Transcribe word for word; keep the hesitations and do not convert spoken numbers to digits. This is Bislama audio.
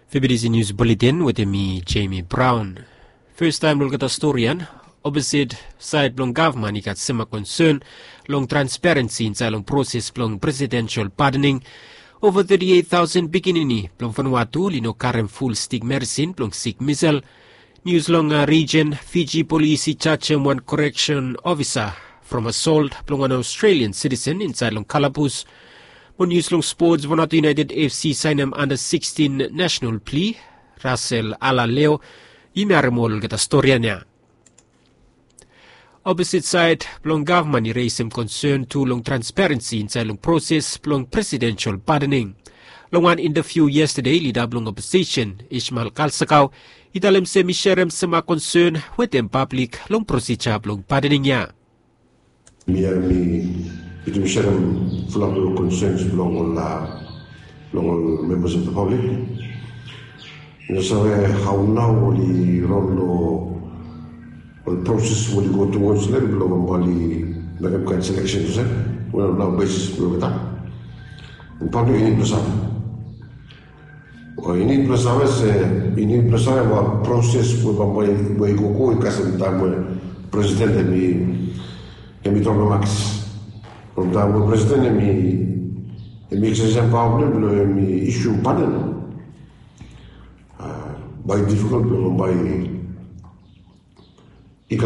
Febidisi nius buletin wetem mi, Jemi Braun. Fastaem long olgeta storian, oposit saed blong gavman i gat sema konsen long transparensi insaed long proses blong presidensel padening. Ova teti eit taosen pikinini blong Vanuatu oli no karem ful stik medisin blong sik misel. Nius long rijen, Fiji polis i jajem wan koreksen ofisa from asolt blong wan Australian sitisen insaed long kalabus. Mo nius long spots, Vanuatu United FC saenem anda sikstin nasenal pli. Rasel Alaleo. Yumi harem ol olgeta storian ya. Oposit saed blong gavman i resem konsen tu long transparensi insaed long proses blong presidensel padening. Long wan intaviu yestade, lida blong oposisen Ishmael Kalsakau i talem se mi serem sema konsen wetem pablik long prosija blong padening ya. Mi ya mi, mi serem fulap long konsens blong ol, long ol membas of the public. Mi no save hao nao oli ron long ol proses we oli go towards long bambae oli mekem kaen seleksen olsem we ol nao besis blong olgeta. Pablik i nid blong save. O i nid blong save se, i nid blong save ol proses we bambae we i gogo i kasem taem we presiden hemi, hemi tok long makis. From taem we presiden hemi, hemi eksersesem paoa blong hem blong hemi isium paden. Bae i difikol blong bae i gat